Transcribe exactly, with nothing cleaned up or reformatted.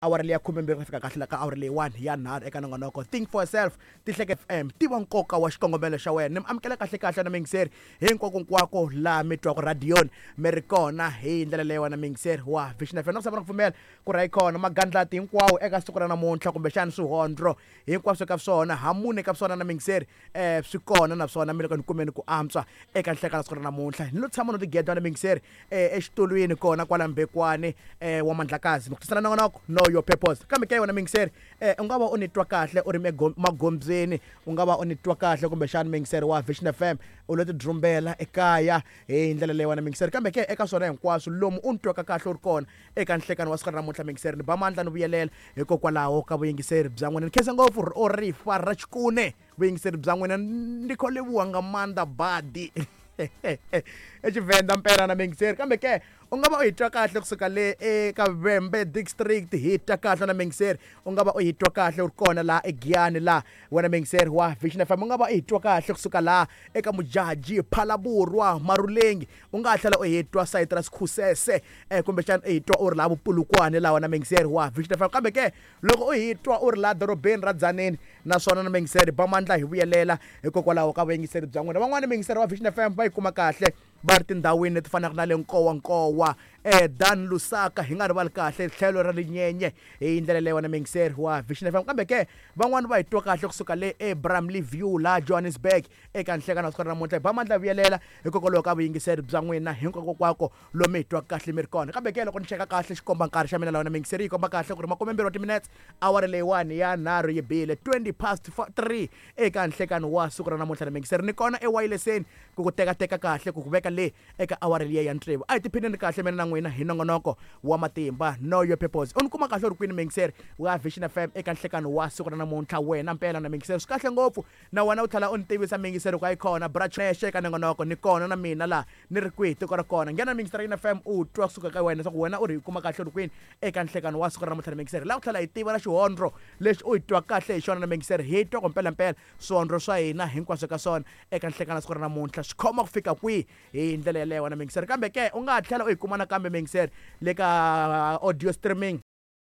Awara leyi ya khumembirhi ku fika kahle la ka awara leyiwani ya nharhu eka nongonoko Think for Yourself, Tihleke F M, tiva nkoka wa xikongomelo xa wena. Ni mi amukela kahle kahle na miyingiseri hinkwako laha mi twaka radiyoni mi ri kona hi ndlela leyi wena miyingiseri wa Vision F M. Na ku tshama na ku pfumela ku ri kona magandlati hinkwawo eka siku ra namuntlha, kumbexana swihondlo hinkwaswo ka swona hamune ka swona na miyingiseri um swi kona naswona mi le ka ni kumeni ku antswa eka nhlekani siku ra namuntlha. Ni lo tshama no tigeda na miyingiseri um exitulwini kona kwala Mbekwani um wa Mandlakazi, mi ku tisela nongonoko Know Your Purpose. Kambe ke wena miyingiseri um u nga va u ni twa kahle u ri magondzweni, u nga va u ni twa kahle kumbexana miyingiseri wa Vision F M u lo tidrumbela ekaya hi ndlela leyi wena miyingiseri. Kambe ke eka swona hinkwaswo lomu u ni twaka kahle u ri kona eka nhlekani wa siku ra namuntlha, miyingiseri, ni ba mandla ni vuyelela hikokwalaho ka vuyingiseri bya n'wina. Ni khensa ngopfu o rifa ra xikune vuyingiseri bya n'wina, ndi kho leboha nga maanḓa badi eXivenda mpela na miyingiseri. Kambe ke u nga va u hi twa kahle kusuka le eka Vhembe District, hi twa kahle na miyingiseri. U nga va u hi twa kahle u ri kona laha eGiyani laha wena miyingiseri wa Vision F M. U nga va u hi twa kahle kusuka laha eka Mujaji, Phalaborwa, Marulengi. U nga ha tlhela u hi twa sayiti ra Sikhusese um kumbexana u hi twa u ri laha Vupulukwane laha wena miyingiseri wa Vision F M. Kambe ke loko u hi twa u ri laha dorobeni ra Dzaneni, naswona na miyingiseri, ba mandla hi vuyelela hikokwalaho ka vuyingiseri bya n'wina. Van'wani miyingiseri wa Vision F M va yi kuma kahle va ri tindhawini leti fanaka na le Nkowankowa, eh Dan Lusaka, hi nga rivali kahle tlhelo ra Linyenye hi ndlela leyi wena miyingiseri wa Vision F M. Kambe ke van'wani va hi twa kahle kusuka le eBramley View laha Johannesburg eka nhlekani wa siku ra namuntlha. Hi ba mandla vuyelela hikokwalaho ka vuyingiseri bya n'wina hinkwakokwako lomu hi twaka kahle mi ri kona. Kambe ke loko ni cheka kahle xikomba nkarhi xa mina laha wena miyingiseri, yi komba kahle ku ri makumembirhi wa timinetse awara leyiwani ya nharhu yi bile, twenty past three eka nhlekani wa siku ra namuntlha na miyingiseri. Ni kona ewayileseni ku ku tekateka kahle ku ku veka le eka awara liya ya tsevu. A hi tiphineni kahle mina na n'wina hi nongonoko wa matimba Know Your Purpose. U ni kuma kahle u ri kwini miyingiseri wa Vision F M eka nhlekani wa siku ra namuntlha wena mpela na miyingiseri? Swi kahle ngopfu na wena u tlhela u ni tivisa miyingiseri ku a yi kona branexe eka nongonoko. Ni kona na mina laha ni ri kwihi tiko ra kona. Nghena miyingiseri ya F M u twa kusuka ka wena leswaku wena u ri hi kuma kahle u ri kwini eka nhlekani wa siku ra namuntlha na miyingiseri. Laha ku tlhela hi tiva na xihondlo lexi u hi twa kahle hi xona na miyingiseri, hi twa ku mpelampela swihondlo swa hina hinkwaswo ka swona eka nhlekani wa siku ra namuntlha swi khoma ku fika kwihi hi ndlela yeleyo wena miyingiseri. Kambe ke u nga ha tlhela u yi kuma nakambe miyingiseri le ka audio streaming.